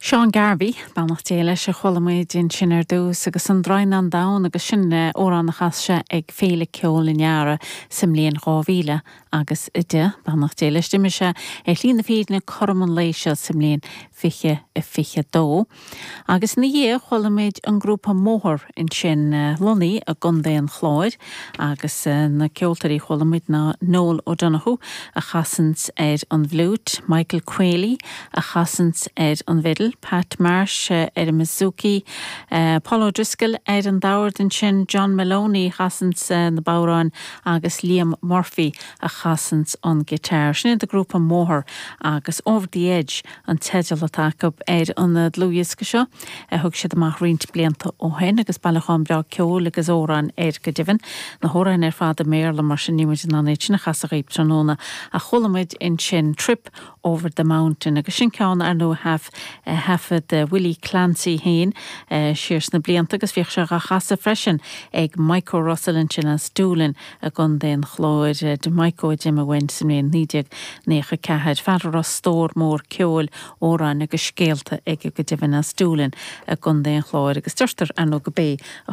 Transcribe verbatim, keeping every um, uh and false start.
Seán Garvey beannacht Dé leis a chuala muid ansin ar dtús agus an Draighneán Donn agus sin amhrán a chas sé ag Féile Ceoil an Earraigh sa mbliain dhá mhíle agus a deich beannacht Dé leis d'imigh sé ar shlí na fírinne cothrom an lae seo sa mbliain fiche a fiche dó. Agus ina dhiaidh chuala muid an grúpa Mothar ansin lonnaithe i gContae an Chláir agus na ceoltóirí chuala muid ná Noel O'Donoghue a chasanns ar an bhfliúit, Michael Quealy a chasanns ar an bhfidil, Pat Marsh ar an mbouzouki, Paul O'Driscoll ar an dord ansin, John Maloney chasanns na bodhráin agus Liam Murphy a chasanns an guitar. Sin iad an grúpa Mothar agus Over the Edge an teideal atá acu ar an dlúthdhiosca seo a thug siad amach roinnt blianta ó shin agus bailiúchán breá ceoil agus amhrán air go deimhin. Na hamhráin ar fad i mBéarla mar sin níl muid in ann iad sin a chasadh daoibh tráthnóna a chuala muid ansin Trip over the Mountain agus sin ceann ar nó haf thaifead Willie Clancy féin siar sna blianta agus bhíodh sé á chasadh freisin ag Michael Russell ansin as Doolin i gContae an Chláir de Michael d'imigh uainn sa mbliain naoi déag nócha ceathair fear a raibh stór mór ceoil amhrán agus scéalta aige go deimhin as Doolin i gContae an Chláir agus deirtear ar ndóigh gurb é a